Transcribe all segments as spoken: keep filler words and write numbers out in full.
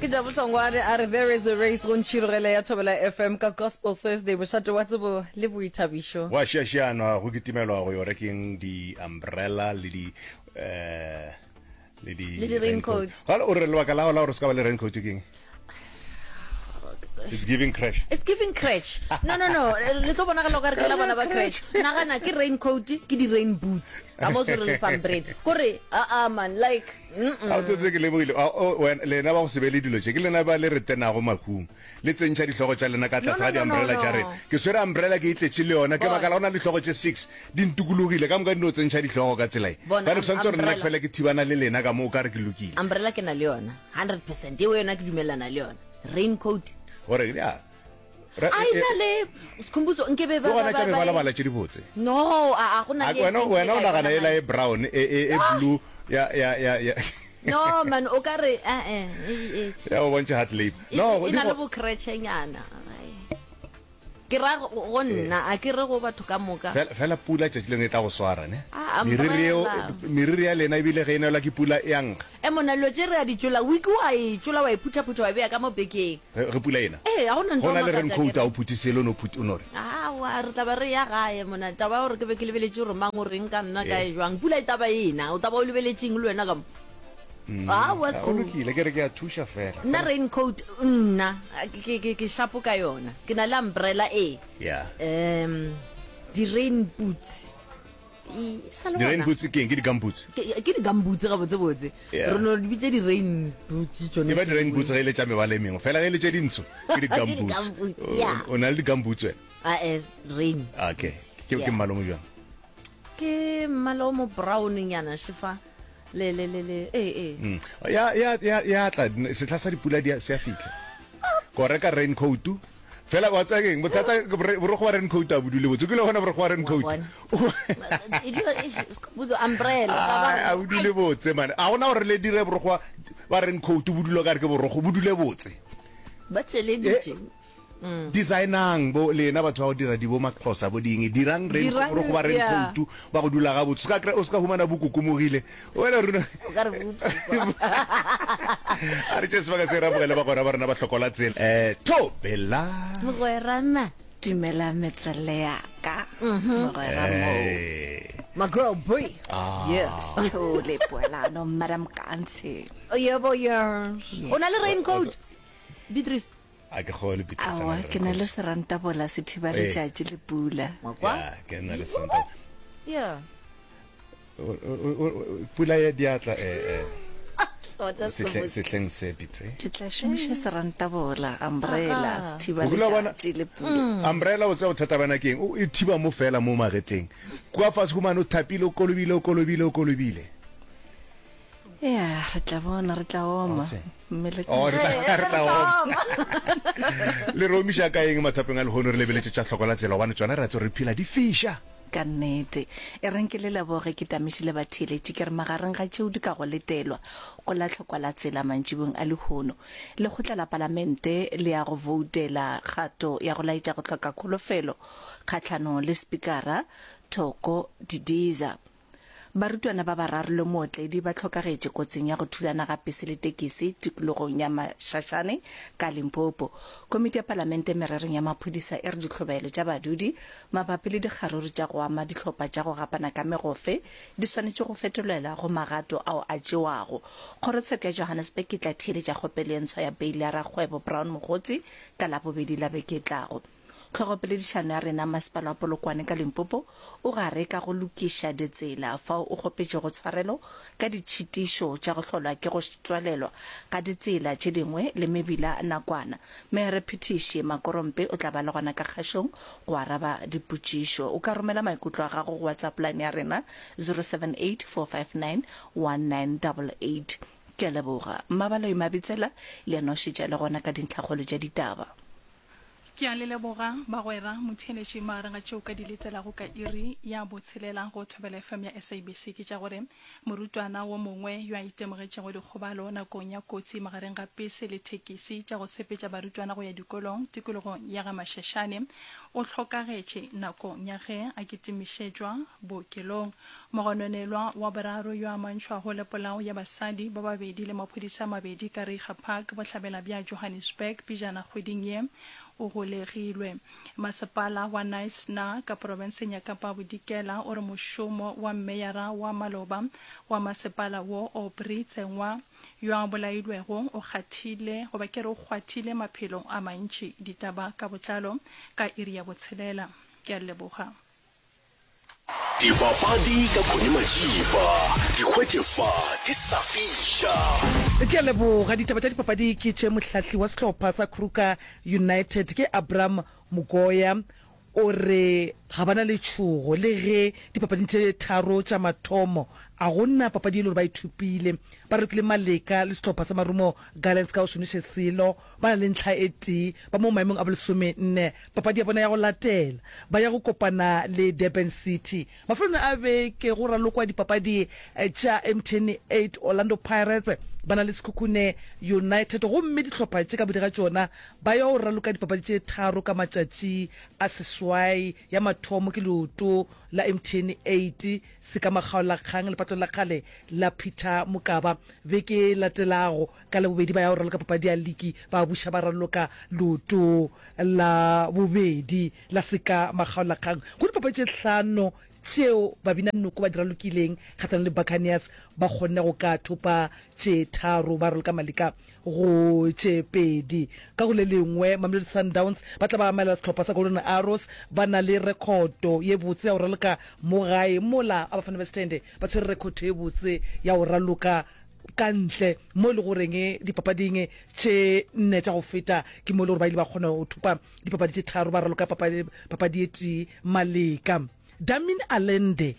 Ke Jabu Hlongwane a re there is a race go ntšhirogele ya Thobela F M ka Gospel Thursday, mošate wa tsebo le boithabišo. Go a šiašianwa, go kitimelwa go yo rekeng di-umbrella le di eh le di Le di-raincoat. Gale o re lebaka la gago la gore se ka ba le raincoat ke eng? It's giving crash. It's giving crèche. No, no, no, le tlo bonagala o ka re ke la bona ba crèche. Nagana ke raincoat, ke di rain boots. Ka mo tshwere le sambrele. Kore a a man, like mm -mm. A o tsotse ke lemogile a, o, wena- lena ba go se be le dilo tše, ke lena ba le re tenago makhung, le tsentšha dihlogo tša lena ka tlase No, ga no, no, di-umbrella no, tša no. rena. Ke swere umbrella ke e tletše le yona, ke Bona. makala go na le dihlogo tše six di ntokologile ka moka, di no tsentšha dihlogo ka tsela e. Bona, Bjale ke swanetše gore nna ke umbrella. fele ke thibana le lena ka mo o ka re ke lokile. Umbrella ke na le yona hundred percent, eo yona ke dumelana le yona. Raincoat gore ya Ra- a e- ena le Sekhumbuzo nke be le ba gona ba tša ba ba mebalabala tše dibotse. No, a a go na A le e wena tee wena ke o ka e nagana bona ela mane. e brown e e e blue ya ya ya ya No man, o ka re eh eh e ya go bontšha hard labor. e No, e di na le go bo creche-nyana. Ai. Ke ra go go nna, a ke re go batho ka moka. Fela fela pula tšatši lengwe e tla go swara ne. Ah, Meriri eo umbrella. Meriri ya lena ebile ge e nelwa ke pula e a nkga. E mona dilo tše re a di tšola, wiki wa e tšola, wa e phuthaphutha, wa e beya ka mo bekeng. Ge ge pula ena. Ee, ga go na ntho Go na le makatša ke raincoat re. a o phuthe selo o no phuthe o no re. Aowa, re tla ba re ya gae mona. Taba ya gore ke be ke lebeletše gore mang o reng ka nna kae Ee. jwang. Pula e taba ena, o taba o lebeletšeng le wena ka mo. Aowa A go Sekhu. lokile ke re ke a thuša fela. Nna Fela raincoat nna ke ke ke shapo ka yona. Ke na le umbrella e. Yeah. Um di rain boots. E sa le Di rain gona. boots ke eng? Ke di gumboots. Ke ke di gumboots ga botse botse. Yeah. Re no di bitša di rain boots E tšone ba di rain tšeo. boots ge e le tša mebala e mengwe. Fela ge e le tše dintsho ke di Ke di gumboots. gumboots, O yeah. o na le di gumboots wena? Ah eh rain. Okay. Boots. Ke ke Yeah. mmala o mo jwang? Ke mmala o mo brown nyana shifa. Le le le le ee ee. Mm. Ya ya ya ya tla sehla sa dipula di se a fihla. Ko reka raincoat. Fela wa tsaya keng? Bothata ke bore- borokgo wa raincoat a bodule botse. O kile wa bona borokgo wa Wa raincoat? bona. E dula e Skhumbuzo umbrella Ai, taba a bodule botse mane. A gona gore le dire borokgo wa wa raincoat bo dule ka re ke borokgo, bo dule botse. Ba Eh, tšeleditše. Designang bo lena batho ba go dira di bo Maxhosa bo ding, dirang rain Dirang borokgo ba yeah. raincoat ba go dula gabotse. O ska kry- o ska humana bo kokomogile. Wena rona O ka re bopsiswa. A re tše sebaka se re amogele bagwera ba rena ba hlokola tsela. Eh, Thobela. Mogwera ma. Dumela metswalle ya ka. Mogwera mo. Eh. My girl Brie. Ah. Yes. Thole Poelano, Madam Kantsi. Yebo yes. O na le raincoat? Beatrice. A ke kgole Beatrice a na Aowa, le ke na le raincoat. serantabola se thiba Ee. letšatši le pula. Wa kwa? Ya, ke na le serantabola. Yeah. O- o- o- o- Pula ya diatla eh eh Tota sehleng Skhumbuzo. sehleng se Beatrice. Ke tla šomiša serantabola, umbrella, se thiba O kile wa bona letšatši le pula. Umbrella o tseba bothata bana ke eng? O e thiba mo fela mo magetleng. Kwa fase humane o thapile, o kolobile, o kolobile, o kolobile. Ya, re tla bona, re tla oma. Otse. Mmele ka Oh, re tla Ee, re re tla tla oma. oma. Le re omiša ka eng mathapeng a lehono re lebeletše tša hlokola tsela gobane tšona re a tseba re phela di fiša. Ka nnete. E reng ke le leboge ke tamišile batheeletši ke re magareng ga tšeo di ka go letelwa go la hlokwa la tsela mantšibong a lehono. Lekgotla la Palamente le ya go voutela kgato ya go laetša go hloka kholofelo kgahlanong le Spikara Thoko Didiza. Barutwana ba bararo le mootledi ba hlokagetše kotsing ya go thulana ga pese le tekisi tikologong ya Mashashane ka Limpopo. Komiti ya Palamente mererong ya maphodisa e re dihlobaelo tša badudi mabapi le dikgaruru tša go ama dihlopha tša go gapana ka megofe di swanetše go fetolelwa go magato ao a tšewago. Kgorotsheko ya Johannesburg e tla theeletša kgopelo ye ntshwa ya beile ya rakgwebo Brown Mogotsi ka Labobedi la beke e tlago. Tlhogopoledišano ya rena, Masepala wa Polokwane ka Limpopo o gare ka go lokiša ditsela fao o kgopetšego tshwarelo ka ditšhitišo tša go hlolwa ke go tswalelwa ga ditsela tše dingwe le mebila nakwana. Meyarephethiši Makorompe o tla ba le gona ka kgašong go araba dipotšišo. O ka romela maikutlo a gago go WhatsApp line ya rena zero seven eight four five nine one nine eight eight. Ke a leboga. Mmabaloi Mabitsela le yena o šetše a le gona ka dintlhakgolo tša ditaba. Ke a le leboga, bagwera, motheeletši magareng ga tšeo ka di letelago ka iri ya botshelela go Thobela F M ya S A B C ke tša gore morutwana wo mongwe yo a itemogetšego dikgobalo nakong ya kotsi magareng ga pese le thekisi tša go sepetša barutwana go ya dikolong tikologong ya ga Mashashane o hlokagetše nakong ya ge a kitimišetšwa bookelong. Mogononelwa wa boraro yo a amantšhwago le polao ya basadi ba babedi le maphodisa a mabedi ka Reiger Park, bohlabela bja Johannesburg pejana kgweding ye, o golegilwe. Masepala wa Knysna ka profenseng ya Kapa Bodikela o re mošomo wa mmeyara wa maloba wa masepala wo, Aubrey Tsengwa, yo a bolailwego o kgathile goba ke re o kgwathile maphelo a mantši. Ditaba ka botlalo ka iri ya botshelela. Ke a leboga. Dipapadi ka Connie Majiba, di hwetše fa di sa fiša. Ke a leboga. Ditaba tša dipapadi ke tše Mohlahli wa sehlopha sa Kruger United ke Abram Mugoya o re ga ba na letšhogo le ge dipapading tše tharo tša mathomo a go na papadi e le gore ba e thopile. Ba rekile maleka le sehlopha sa Marumo Gallants ka go šomiše selo, ba na le ntlha e tee, ba mo maemong a bolesome nne. Papadi ya bona ya go latela ba ya go kopana le Durban City. Mafelong a beke go ralokwa dipapadi tša M T N eight, Orlando Pirates ba na le Sekhukhune United gomme dihlopha tše ka bodi ga tšona ba ya go raloka dipapadi tše tharo ka matšatši a seswai. Ya mathomo ke leoto la M T N eight se ka makgaolakgang lepatlong la kgale la Peter Mokaba. Beke e latelago ka Labobedi ba ya go raloka papadi ya liki, ba buša ba raloka leoto la bobedi la seka makgaolakgang. Go dipapadi tše hlano tšeo Babinanoko ba di ralokileng kgahlanong le Buccaneers, ba kgonne go ka thopa tše tharo, ba raloka maleka go tše pedi. Ka go le lengwe, Mamelodi Sundowns ba tla ba amela sehlopha sa Golden Arrows ba na le rekhoto ye botse ya go raloka mo gae, mola Abafana Bes'thende ba tshwere rekhoto ye botse ya go raloka ka ntle, mo e le goreng dipapading tše nne tša go feta ke mo e le gore ba ile ba kgona go thopa dipapadi tše tharo, ba raloka papadi e tee maleka. Damian Allende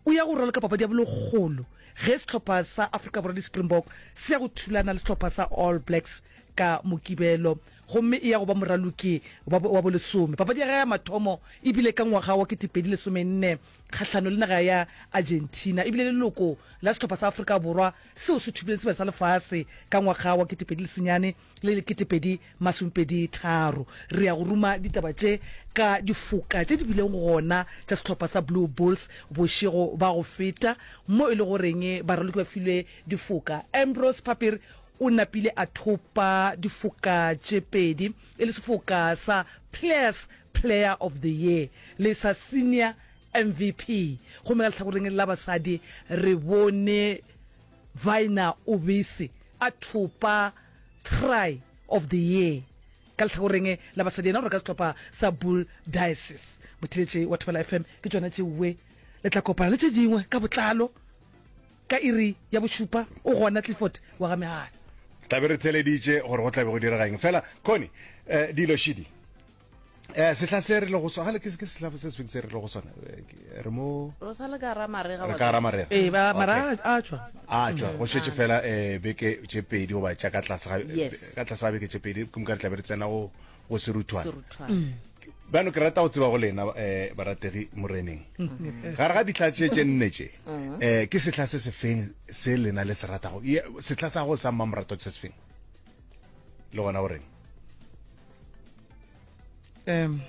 o ya go raloka papadi ya bolekgolo ge sehlopha sa Afrika Borwa di-Springbok se ya go thulana le sehlopha sa All Blacks ka Mokibelo gomme e ya go ba moraloki wa wa bolesome. Papadi ya gagwe ya mathomo e bile ka ngwaga wa ketepedi lesomenne kgahlano le naga ya Argentina. E bile leloko la sehlopha sa Afrika Borwa seo se thopileng Sebjana sa Lefase ka ngwaga wa ketepedi lesenyane le ketepedi masomepedi tharo. Re ya go ruma ditaba tše ka difoka tše di bileng gona tša sehlopha sa Blue Bulls bošego ba go feta mo e le goreng baraloki ba filwe difoka. Ambrose Papier o napile a thopa difoka tše pedi e le sefoka sa Players Player of the Year le sa Senior M V P. Gomme ka lehlakoreng la basadi re bone Vina Obese a thopa Try of the Year ka lehlakoreng la basadi, yena o reka sehlopha sa Bull Diocese. Motheeletši wa Thobela F M, ke tšona tšeoe le tla kopana le tše dingwe ka botlalo ka iri ya bošupa. O gona Clifford wa ga Megala. Tla be re theeleditše gore go tla be go direga eng. Fela Connie, eh, dilo šidi. Eh, sehla se re le go sona, ke ke sehla se sefeng se re le go sona? Eh, re mo Re sa le ka ra marega re ka ra marega. Ee, ba Okay. mara a tšwa. A tšwa, go šetše fela eh beke tše pedi goba tša ka tlase ga Yes. ka tlase ga beke tše pedi, ke moka re tla be re tsena go go seruthwane. Seruthwane. Bjano ke rata go tseba go lena eh barategi moreneng. Gare ga dihla tše tše nne tše, eh ke sehla se sefeng se lena le se ratago? Ye, sehla sa go sa mmamoratwa ke se sefeng? Le gona o reng? Um,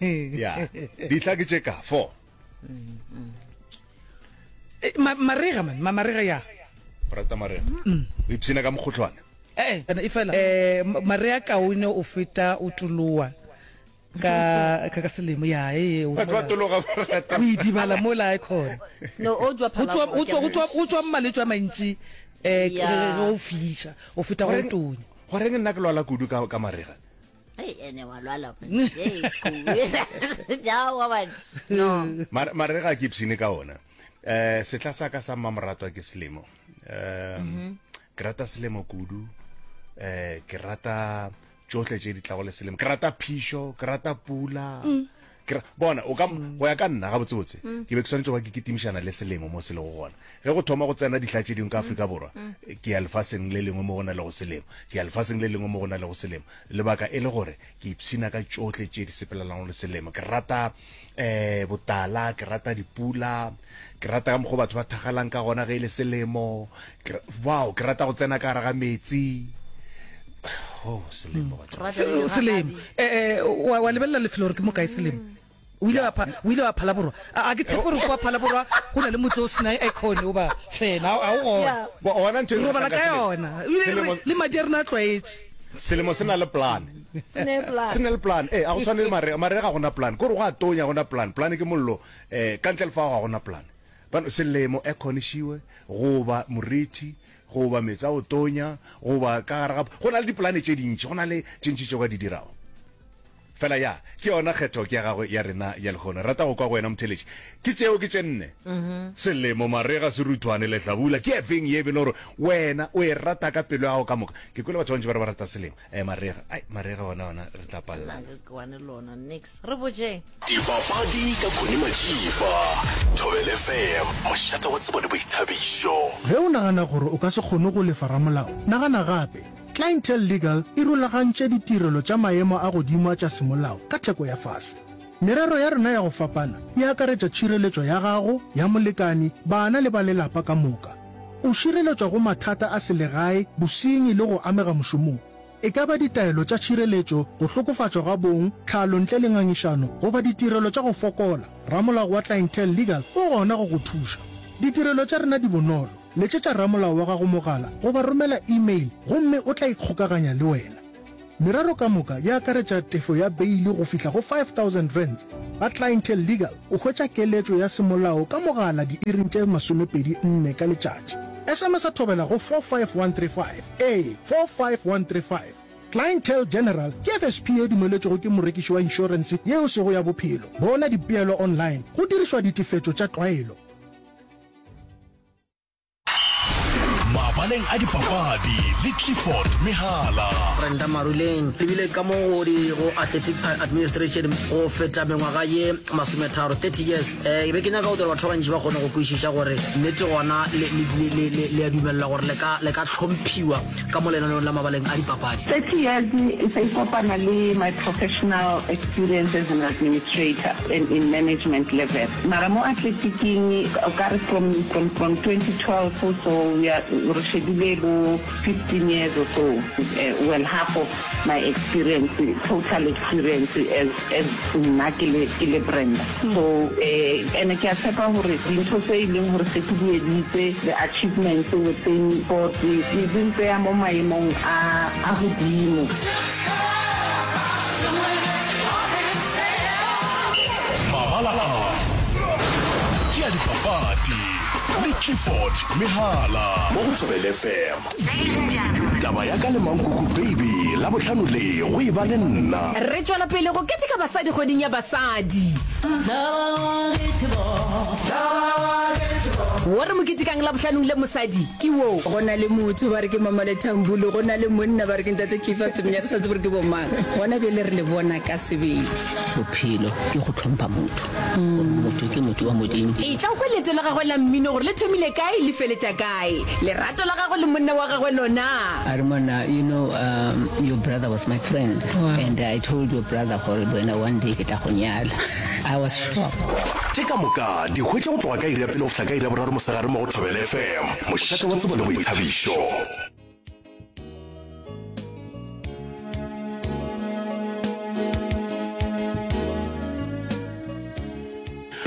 Ya, dihla ke tše ka four. Eh, ma- marega man, ma- marega ya. O rata marega. O ipshina ka mokgohlwane. Eh, eh, e fela eh ma- marega kaone o feta o toloa ka ka ka selemo ya eh o Batho ba tologa ba rata. o idibala mola e khona. No, o jwa Go tswa go tswa go tswa go tswa malwetši a mantši eh Ya. ge ge o fiša o feta go Goreng- tonya. Goreng nna ke lwala kudu ka ka marega? Hey, ene wa lwala. Hey, school. Ja, wa man. No. Mar- marega ke ipshine ka ona. Eh sehla sa ka sa mmamoratwa ke selemo. Um ke rata selemo kudu. Eh ke rata tšohle tše di tlago le selemo. Ke rata phišo, ke rata pula. Ke ra- bona o ka go ya ka nna gabotsebotse ke be ke swanetše go ba ke kitimišana le selemo mo se lego gona. Ge go thoma go tsena dihla tše dingwe ka Afrika Borwa, ke ya lefaseng le lengwe mo go na lego selemo, ke ya lefaseng le lengwe mo go na lego selemo. Lebaka e le gore ke ipshina ka tšohle tše di sepelelanago le selemo. Ke rata eh botala, ke rata dipula, ke rata ka mokgwa batho ba thagalang ka gona ge e le selemo. Ke ra-, wow, ke rata go tsena ka gare ga metsi. Oh, selemo batho. Se- Selemo. Eh eh wa wa lebelela lefelo gore ke mo kae selemo. O ile wa pha o ile wa Phalaborwa. A a ke tshepe gore kwa Phalaborwa go na le motse o sena aircon o ba fena a o gona. Bo- Ona ntho e Re robala nkgahlang ka ka selemo. yona. Ebile Selemo- re- le madi a rena a tlwaetše. Selemo se na le plan. Se ne plan. Se na le plan. Eh, a go tshwane le marega. Marega ga gona plan. Kore go a tonya gona plan. Plan ke mollo. Eh, ka ntle le fao ga gona plan. Bano selemo aircon e šiwe goba morithi goba meetse a go tonya goba ka gare ga go na le dipolane tše dintši go na le tše ntši tše o ka di dirago fela ya ke yona kgetho ke ya gagwe ya rena ya lehono rata go kwa go wena motheletši ke tšeo ke tše nne selemo marega seruthwane lehlabula ke efeng ye e bele gore wena o e rata ka pelo ya gago ka moka ke kwele batho ba bantši ba re ba rata selemo um marega ai marega ona ona re tla palelana Nna ke kwane lona nix re botšeng Dipapadi ka Connie Majiba, Thobela F M, mošate wa tsebo le boithabišo. Ge o nagana gore o ka se kgone go lefa ramolao, nagana gape. Clientele Legal e rulagantše ditirelo tša maemo a godimo a tša semolao ka theko ya fase. Merero ya rena ya go fapana e akaretša tšhireletšo ya gago, ya molekani, bana le ba lelapa ka moka. O šireletšwa go mathata a selegae, bosenyi le go amega mošomong. E ka ba ditaelo tša tšhireletšo, go hlokofatšwa ga bong, tlhalo ntle le ngangišano, goba ditirelo tša go fokola, ramolao wa Clientele Legal o gona go go thuša. Ditirelo tša rena di bonolo. Letšetša ramolao wa gago mogala goba romela email gomme o tla ikgokaganya le wena. Merero ka moka e akaretša tefo ya beili go fihla go five thousand rands. Ga Clientele Legal o hwetša keletšo ya semolao ka mogala diiring tše masomepedi nne ka letšatši. S M S a thobela go four five one three five. Ee, four five one three five. Clientele General ke F S P ye dumeletšwego ke morekiši wa inšorense ye e sego ya bophelo. Bona dipeelo online go dirišwa ditefetšo tša tlwaelo. Mabaleng a dipapadi le Clifford Mehala. Brenda Maruleng le bile ka mo go di go Athletic Administration go feta mengwaga ye masometharo, thirty years. Eh, ke be ke nyaka go dira batho ba bantši ba kgone go kwešiša gore nnete gona le, le, le, le, le, le a dumelela gore le ka, le ka hlomphiwa ka mo lenaneong la mabaleng a dipapadi. Thirty years e sa ikopana le my professional experience as an administrator and in management level. Mara mo athletiking o ka re from, from, from twenty twelve so we are re shebile bo fifteen years or so, eh, well half of my experience, total experience as, as nna ke le, ke le Brenda. So, eh, ene ke a tshepa gore dintho tse e leng gore se ke di editse, the achievements within sport, di, di mpeya mo maemong a, a godimo. Mabala a ke a dipapadi le Clifford Mehala mo go Thobela F M. Taba ya ka le Mankuku Baby Labohlano le go e ba le nna. Re tšwela pele go keteka basadi kgweding ya basadi. Wo re mo ketekang Labohlanong le mosadi ke wo. Go na le motho ba re ke Mama Lethambulu, go na le monna ba re ke Ntate Clifford Semenya, re sa tsebe gore ke bomang. Gona bjale re le bona ka sebele. Bophelo ke go hlompha motho, gore motho ke motho wa Modimo. E tla kwa leeto la gagwe la mmino gore le thomile kae le feletša kae. Lerato la gagwe le monna wa gagwe lona. A re monna, you know, um, your brother was my friend. Wow. And I told your brother gore wena one day ke tla go nyala. I was shocked. Tše ka moka di hwetša go tloga ka iri ya pele go fihla ka iri ya boraro mosegare mo go Thobela F M, mošate wa tsebo le boithabišo.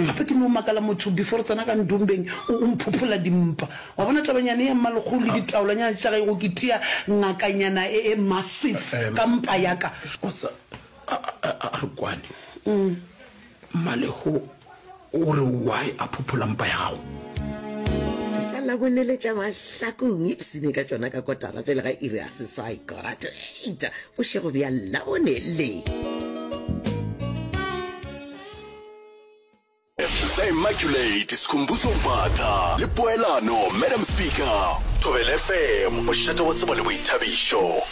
Gape ke no makala motho before re tsena ka ndombeng o, o mphophola dimpa. Wa bona tabanyana ya mmalekgolo le ditaolanyana tša gae go ke tia ngakanyana e, e massive ka mpa ya ka. O tsa, a, a, a, a re kwane. Mmalekgo o re why a phophola mpa ya gago? Ke tša Labone le tša Mahlakong, ipsene ka tšona ka kotara pele ga iri ya seswai, kora to eight, bošego bja Labone le. The Immaculate Skhumbuzo Mbatha le Poelano Madam Speaker. Thobela F M, mošate wa tsebo le boithabišo.